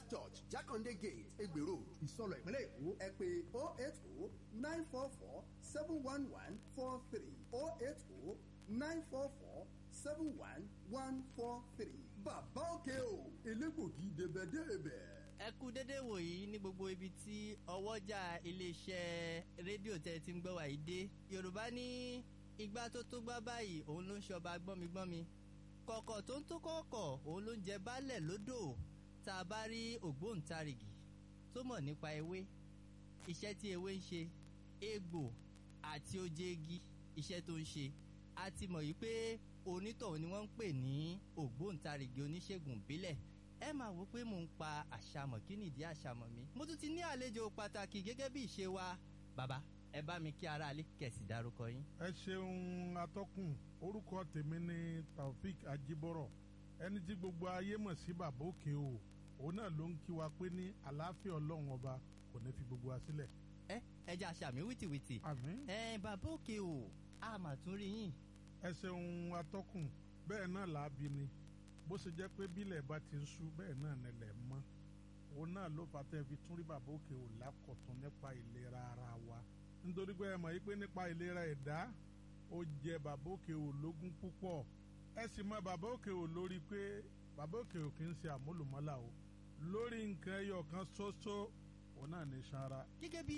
Church, Jakande Gate, Egbe Road, Ìsọlọ̀ ìpínlẹ̀ Èkó. Ẹ pè 080 944 71143 080 944 71143. Bàbá òkè o, elégbògi débẹ̀débẹ̀. Ẹ kú dédé wòyí ní gbogbo ibi tí ọwọ́jà iléeṣẹ́ rédíò tẹ́ ti ń gbọ́ wà yìí dé. Yorùbá ní igbá tó tó gbá báyìí òun ló ń ṣọba gbọ́migbọ́mi, kọ̀kọ̀ tó ń tó kọ̀ọ̀kọ̀ òun ló ń jẹ baálẹ̀ lódò. Tá a bá rí ògbóǹtarìgì tó mọ̀ nípa ewé, iṣẹ́ tí ewé ń ṣe, egbò àti oje igi, iṣẹ́ tó ń ṣe, a ti mọ̀ yìí pé onítọ̀hún ni wọ́n ń pè ní ògbóǹtarìgì oníṣègùn ìbílẹ̀. Ẹ máa wò pé mò ń pa àṣàmọ̀, kí nìdí àṣàmọ̀ mi? Mo tún ti ní àlejò pàtàkì gẹ́gẹ́ bí ìṣe wa. Bàbá, ẹ bá mi kí aráalé kẹ̀sì dárúkọ yín. Ẹ ṣeun atọ́kùn. Orúkọ tèmi ni Taofik Ajibọrọ, ẹni tí gbogbo ayé mọ̀ sí Bàbá Òkè o. Òun náà ló ń kí wa pé ní àlàáfíà Ọlọ́run ọba kò ní fi gbogbo wa sílẹ̀. Ẹ jẹ́ àṣàmì wìtìwìtì. Àmín. Ẹ Bàbá Òkè o, a mà tún rí yín. Ẹ ṣeun atọ́kùn. Bẹ́ẹ̀ náà làábi ni bó ṣe jẹ́ pé bílẹ̀ bá ti ń ṣú bẹ́ẹ̀ náà nílẹ̀ mọ́. Òun náà ló fà tẹ́ fi tún rí Bàbá Òkè o lákọ̀tún nípa ìlera ara wa, nítorí pé ẹ mọ̀ yí pé nípa ìlera ẹ̀dá ó jẹ Bàbá Òkè o lógún púpọ̀. Ẹ sì mọ Bàbá Òkè o lórí pé Bàbá Òkè o kì í ṣe àmúlùmọ́là o lórí nǹkan ẹyọ kan ṣoṣo, òun náà ní sanra. Gẹ́gẹ́ bí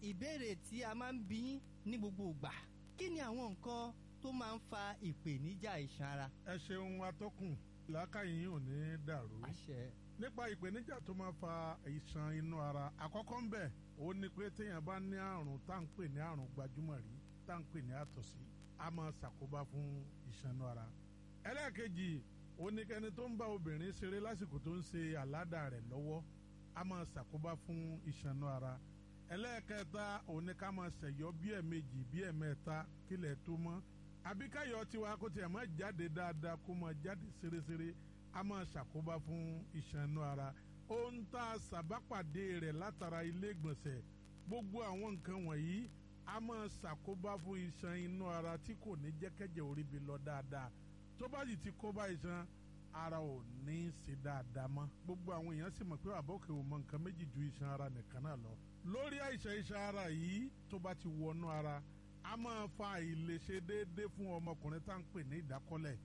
ìbéèrè tí a máa ń bí yín ní gbogbo ìgbà, kí ni àwọn nǹkan tó máa ń fa ìpèníjà iṣan ara? Ẹ ṣeun atọ́kùn, làákàyè yín ò ní dàrú. Àṣẹ. Nípa ìpèníjà tó máa fa ìṣàn inú ara, àkọ́kọ́ ń bẹ̀ ó ní pé téèyàn bá ní àrùn tá à ń pè ní àrùn gbajúmọ̀ rí, tá à ń pè ní àtọ̀sí, a máa ṣàkóbá fún ìṣàn inú ara. Ẹlẹ́ẹ̀kejì ó ní kẹ́ni tó ń bá obìnrin ṣeré lásìkò tó ń ṣe àládà rẹ̀ lọ́wọ́, a máa ṣàkóbá fún ìṣàn inú ara. Ẹlẹ́ẹ̀kẹta ó ní ká máa ṣẹ̀yọ́ bí ẹ̀ẹ̀mejì bí ẹ̀ẹ̀mẹ́ta kílẹ̀ tó mọ́, àbí káyọ̀ tiwa kó tiẹ̀ máa jáde dáadáa, kó máa jáde ṣeréṣeré, a máa ṣàkóbá fún iṣan inú ara. Ohun tá a ṣàbápàdé rẹ̀ látara ilé ìgbọ̀nsẹ̀, gbogbo àwọn nǹkan wọ̀nyí a máa ṣàkóbá fún iṣan inú ara tí kò ní jẹ́kẹ́jẹ́ orí bi lọ dáadáa. Tó bá sì ti kóbá iṣan ara, ò ní í ṣe dáadáa mọ́. Gbogbo àwọn èèyàn sì mọ̀ pé Bàbá Òkè ò mọ nǹkan méjì ju iṣan ara nìkan náà lọ. Lórí àìsàn iṣan ara yìí, tó bá ti wọnú ara, a máa fa àìlèṣe déédéé fún ọmọkùnrin tá à ń pè ní ìdákọ́lẹ̀.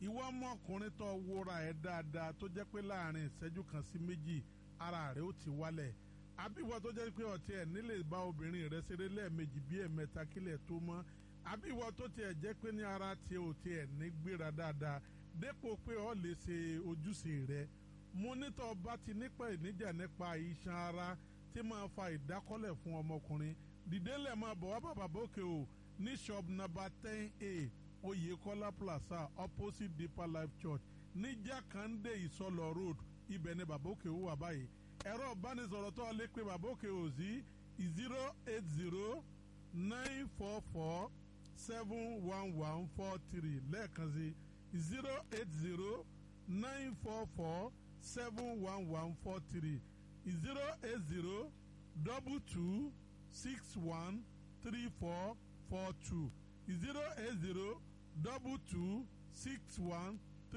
Ìwọ ọmọkùnrin tó wúra ẹ̀ dáadáa, tó jẹ́ pé láàrin ìṣẹ́jú kan sí méjì ara rẹ̀ ó ti wálẹ̀, àbí ìwọ tó jẹ́ pé ọtí ẹ̀ nílè bá obìnrin rẹ̀ ṣeré lẹ́ẹ̀mejì bí ẹ̀mẹ́ta kílẹ̀ tó mọ́, àbí ìwọ tó tiẹ̀ jẹ́ pé ní ara tiẹ̀ ò tiẹ̀ ní gbéra dáadáa dépò pé o lè ṣe ojúṣe rẹ̀, mo nítọ́ bá ti nípa ìníjà nípa iṣan ara tí máa fa ìdákọ́lẹ̀ fún ọmọkùnrin, dìde lẹ̀ máa bọ̀ wá bàbá Òkè o ní shop number 10A, Oyekola Plaza, opposite Deeper Life Church, ní Jakande Ìsọlọ Road. Ibẹ̀ ni Bàbá Òkè o wà báyìí. Ẹ̀rọ ìbánisọ̀rọ̀ tó lè pe Bàbá Òkè o sí 08094471143. Lẹ́ẹ̀kan sí, 08094471143, 08022613442,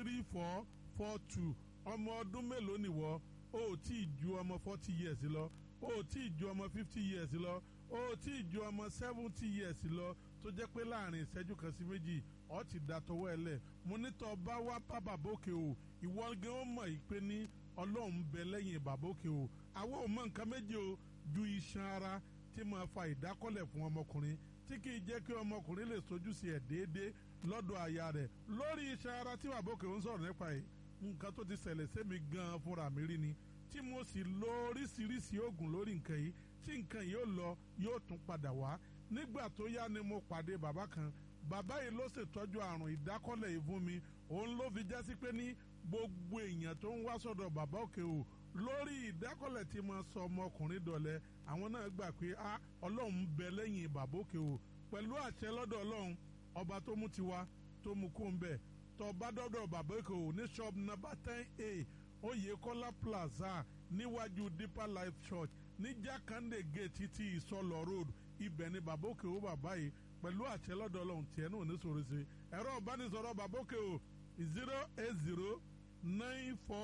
08022613442. Ọmọ ọdún mélòó nìwọ? O ò tí ì ju ọmọ 40 years lọ, o ò tí ì ju ọmọ 50 years lọ, o ò tí ì ju ọmọ 70 years lọ, tó jẹ́ pé láàrin ìṣẹ́jú kan sí méjì ọ ti da tọwọ́ ẹ lẹ̀. Mo ní tọ́ bá wá bá Bàbá Òkè o, ìwọ gan ó mọ̀ yìí pé ní Ọlọ́run ń bẹ lẹ́yìn Bàbá Òkè o. Àwọn ò mọ nǹkan méjì o ju iṣan ara tí máa fa ìdákọ́lẹ̀ fún ọmọkùnrin, tí kì í jẹ́ kí ọmọkùnrin lè sojúṣe ẹ̀ déédéé lọ́dọ̀ aya rẹ̀. Lórí iṣan ara tí Bàbá Òkè ń sọ̀rọ̀ nípa yìí, nǹkan tó ti ṣẹlẹ̀ sẹ́mi gan-an fúnra mi rí ni, tí mo sì lo oríṣiríṣi oògùn lórí nǹkan yìí, tí nǹkan yìí ó lọ, yóò tún padà wá. Nígbà tó yá ni mo pàdé bàbá kan. Bàbá yìí ló ṣètọ́jú àrùn ìdákọ́lẹ̀ yìí fún mi. Òun ló fi jásí pé ní gbogbo èèyàn tó ń wá sọ́dọ̀ Bàbá Òkè o lórí ìdákọ́lẹ̀ tí mo sọ ọmọkùnrin dọ̀lẹ́, àwọn náà gbà pé a Ọlọ́run ń bẹ lẹ́yìn Bàbá Òkè o. Pẹ̀lú àṣẹ lọ́dọ̀ Ọlọ́run ọba tó mú tiwa tó mú kó ń bẹ̀, tó bá dọ́dọ̀ Bàbá Òkè o ní shop number 10A, Oyèkọ́lá Plaza, níwájú Deeper Life Church, ní Jákàndé Gate títí Ìsọlọ Road, ibẹ̀ ni Bàbá Òkè o bàbá yìí. Pẹ̀lú àṣẹ lọ́dọ̀ Ọlọ́run, tiẹ̀ náà ní sọ̀rọ̀ sí. Ẹ̀rọ ìbánisọ̀rọ̀ Bàbá Òkè o,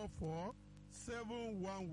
0809447 11.